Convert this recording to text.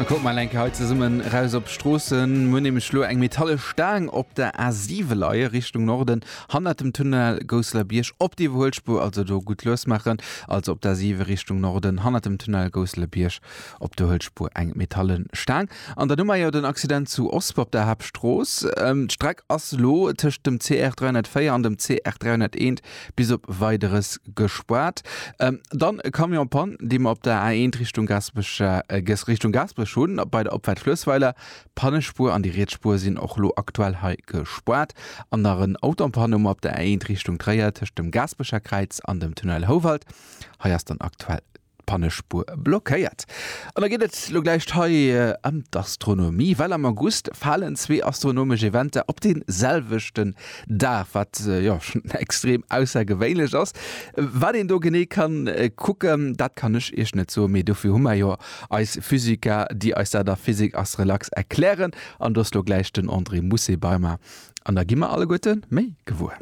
Da kucke mer eng Kéier hei zesummen raus op d'Stroossen. Mir hunn nämlech elo eng metalle Staang op der A7 leie Richtung Norden, hannert dem Tunnel Gousseler-Bierg op d'Iwwerhuelspuer, also do gutt lues maachen. Also op der A7 Richtung Norden, hannert dem Tunnel Gousseler-Bierg op der Huelspuer eng metalle Staang. An dann hu mer jo den Accident zu Osper op der Haaptstrooss. D'Streck ass elo tëscht dem CR 304 an dem CR 301 bis op Weideres gespaart. Dann e Camion Panne, dee mer op der A1 Richtung Gaasperech, Richtung Gaasperech hunn, bei der Opfaart Fluessweiler. D'Pannespuer an déi riets Spuer sinn och elo aktuell hei gespaart. An nach en Auto en Panne hu mer op der A1 Richtung Tréier tëscht dem Gaasperecher Kräiz an dem Tunnel Houwald. Hei ass dann aktuell d'Pannespuer blockéiert. An da geet et lo gläich hei ëm d'Astronomie, well am August falen zwee astronomesch Eventer op dee selwechten Dag, wat jo schonn extrem aussergewéinlech ass. Wat een do genee kann kucken, dat kann ech iech net soen, mee dofir hu mer jo eis Physiker, déi eis dat a Physik ass relax erklären. An do ass lo gläich den André Mousset bei mer an da gi mer alleguerte méi gewuer.